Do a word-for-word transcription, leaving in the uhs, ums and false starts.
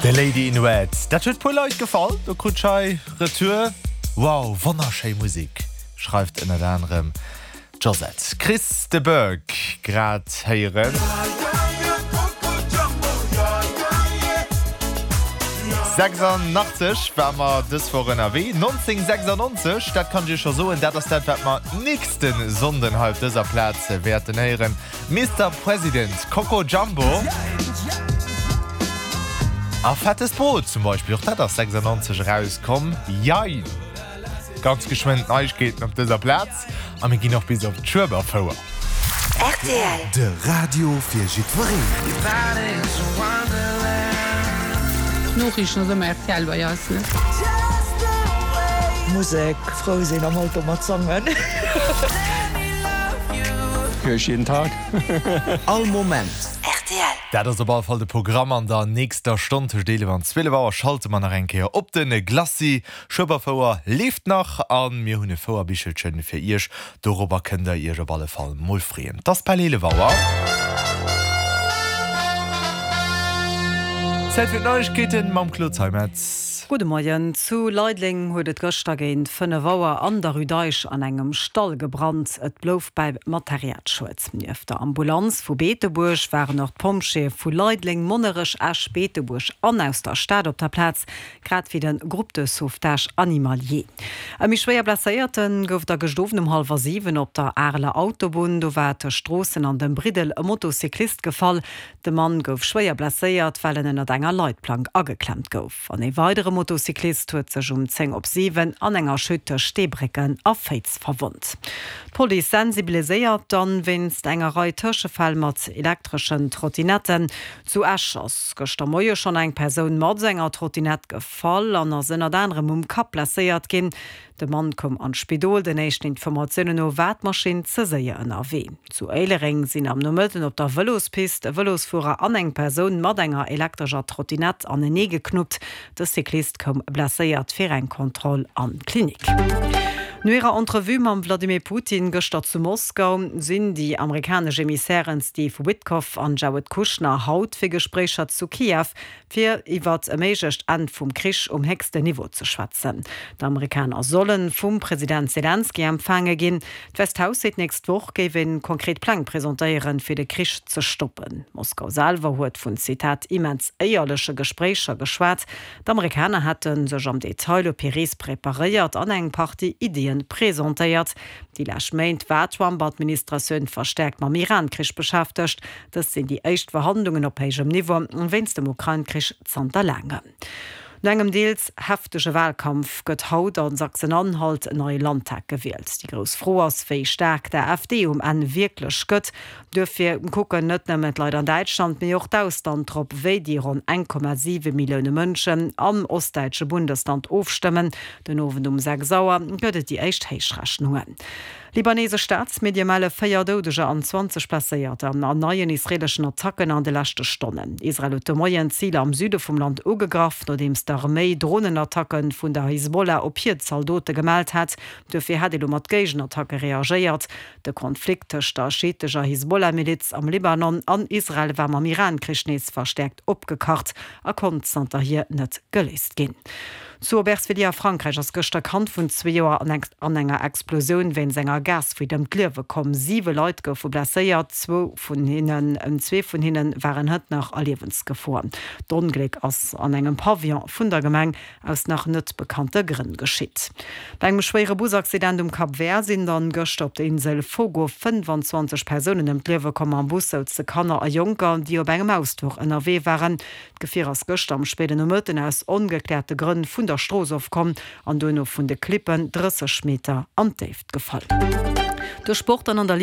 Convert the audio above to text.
The Lady in Red. Dat huet puer Leit gefall, do krut ech hei Retour. Wow, wonnerschéi Musek, schreift ënnert anerem d'Josette. Chris de Burgh grad héieren. Sechsundachtzeg ware mer dës Woch ënnerwee. nonzénhunnertsechsundneunzeg, dat kann ech iech scho soen, dat ass dat, wat mer nächste Sonnden hei op dëser Plaz wäerten héieren. Mister President, Coco Jumbo a Fettes Brot zum Beispill, och dat ass sechsundneunzeg erauskomm. Jein! Ganz geschwënn d'Neiegkeeten op dëser Plaz a mir ginn och bis op d'Schueberfouer. Rtl. De Radio fir jiddwereen. D'Noriichten ass ëmmer rtl bei eis, ne? Musek, frou sinn, am Auto mat sangen. Hör ich jeden Tag. All Moment. Rtl. Dat ass op alle Fall de Programm an der nächster Stonn. Tëscht eelef an zwielef Auer schalte mer nach eng Kéier op de Glacis. Schueberfouer leeft nach a mir hunn e Fouerbichelchen fir iech. Dorobber kënnt der iech op alle Fall mol freeën. 't ass bal eelef Auer. Zäit fir d'Neiegkeeten mam Claude Zeimetz. Gudde Moien. Zu Leideleng huet et gëschter géint fënnef Auer an der Rue d'Eich an engem Stall gebrannt. Et blouf bei Materialschued. Nieft der Ambulanz vu Beetebuerg waren och d'Pompjeeë vu Leideleng, Monnerech, Esch, Beetebuerg an aus der Stad op der Plaz, grad wéi de Groupe de sauvetage animalier. E méi schwéier Blesséierte gouf et da gëscht Owend um hallwer siwen op der Areler Autobunn. Do war tëscht Stroossen an dem Briddel e Motocyclist gefall. De Mann gouf schwéier blesséiert, well en ënnert enger Leitplank ageklemmt gouf. An ee weidere Motocyclist huet sech um zéng op siwen an enger Chute tëscht Steebrécken a Féiz verwonnt. D'Police sensibiliséiert dann wéinst enger Rei Tëschefäll mat elektreschen Trottinetten. Zu Esch ass gëschter Moie schonn eng Persoun mat enger Trottinett gefall an ass ënnert anerem um Kapp blesséiert ginn. De Mann koum an d'Spidol. Den éischten Informatiounen no war d'Maschinn ze séier ënnerwee. Zu Éilereng sinn am Nomëtten op der Vëlospist e Vëlosfuerer an eng Persoun mat enger elektrescher Trottinett anenee geknuppt. De Cyclist koum blesséiert fir eng Kontroll an d'Klinik. No hirer Entrevue mam Wladimir Putin gëschter zu Moskau sinn déi amerikanesch Emissairen Steve Witkoff an Jared Kushner haut fir Gespréicher zu Kiew fir iwwert e méiglecht Enn vum Krich um héchsten Niveau ze schwätzen. D'Amerikaner solle vum President Selenskyj empfaange ginn. D'Wäisst Haus seet, d'nächst Woch géif ee konkret Pläng presentéieren, fir de Krich ze stoppen. Moskau selwer huet vun, Zitat, immens éierleche Gespréicher geschwat. D'Amerikaner hätte sech am Detail op hir Rees preparéiert an eng Partie Iddien presentéiert. Déi lescht Méint war d'Trump-Administratioun verstäerkt mam Iran-Krich beschäftegt. Dëst sinn déi éischt Verhandlungen op héijem Niveau wéinst dem Ukrain-Krich zanter laangem. No engem deels heftege Walkampf gëtt haut a Sachsen-Anhalt en neie Landtag gewielt. Déi grouss Fro ass, wéi staark d'AfD um Enn wierklech gëtt. Duerfir kucken net nëmmen d'Leit an Däitschland, mee och d'Ausland drop, wéi déi ronn eng Komma siwe Millioune Mënschen am ostdäitsche Bundesland ofstëmmen. Den Owend um sechs Auer gëtt et déi éischt Héichrechnungen. Libanesesch Staatsmedie melle véier Doudeger an zwanzeg Blesséierter an neien israeeleschen Attacken an de leschte Stonnen. Israel huet de Moien Ziler am Süde vum Land ugegraff, nodeems d'Arméi Dronenattacke vun der Hisbollah op hir Zaldote gemellt hat. Duerfir hätt ee lo mat Géigenattacke reagéiert. De Konflikt tëscht der schiitescher Hisbollah-Miliz am Libanon an Israel war mam Iran-Krich nees verstäerkt opgekacht a konnt zanterhier net geléist ginn. Zu Aubervilliers a Frankräich ass gëschter e Kand vun zwee Joer an enger Explosioun wéinst enger Gasfuite ëm d'Liewe komm. Siwe Leit goufe blesséiert, zwou vun hinnen zwee vun hinne waren hënt nach a Liewensgefor. D'Ongléck ass an engem Pavillon vun der Gemeng aus nach net bekannte Grënn geschitt. Bei engem schwéiere Busaccident um Cap Vert sinn dann gëschter op der Insel Fogo fënnfanzwanzeg Persounen ëm d'Liewe komm. Am Bus souze Kanner a Jonker, déi op engem Ausfluch ënnerwee waren. D'Gefier ass gëschter am spéiden Nomëtten aus ongekläerte Grënn vun der Strooss ofkomm an duerno vun de Klippen drësseg Meter an d'Déift gefall. De Sport dann an der Ligue.